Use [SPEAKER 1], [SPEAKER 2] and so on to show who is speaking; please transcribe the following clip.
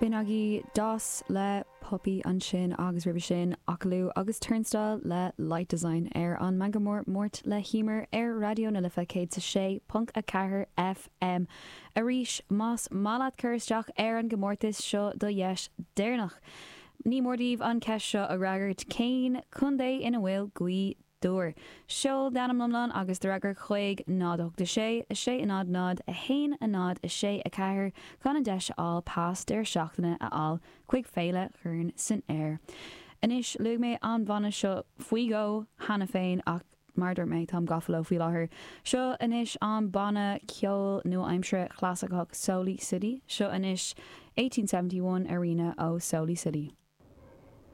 [SPEAKER 1] B'in agaibh DOS le Puppy ansin agus roimhe sin Akaloo agus Turnstile le Light Design ar an Meangadh Mór Máirt le hEmer ar Raidió na Life 106.4 FM. Arís, más maith leat cur isteach ar an gcomórtas, seo do dheis deireanach. Ní mór daoibh an ceist seo a fhreagairt, Cén contae ina bhfuil Gaoth Dobhair. Seol d'ainm iomlán agus do fhreagra chuig 0 8 6 6 0 0 1 0 6 4 chun an deis a fháil pas deireadh seachtaine a fháil chuig Féile Chorn san Aer. Anois, luaigh mé an banna seo faoi dhó cheana féin ach mar a dúirt mé, táim gafa leo faoi láthair. Seo anois an banna ceoil nua-aimseartha clasaiceach Soli City. Seo anois 1871 Arena ó Soli City.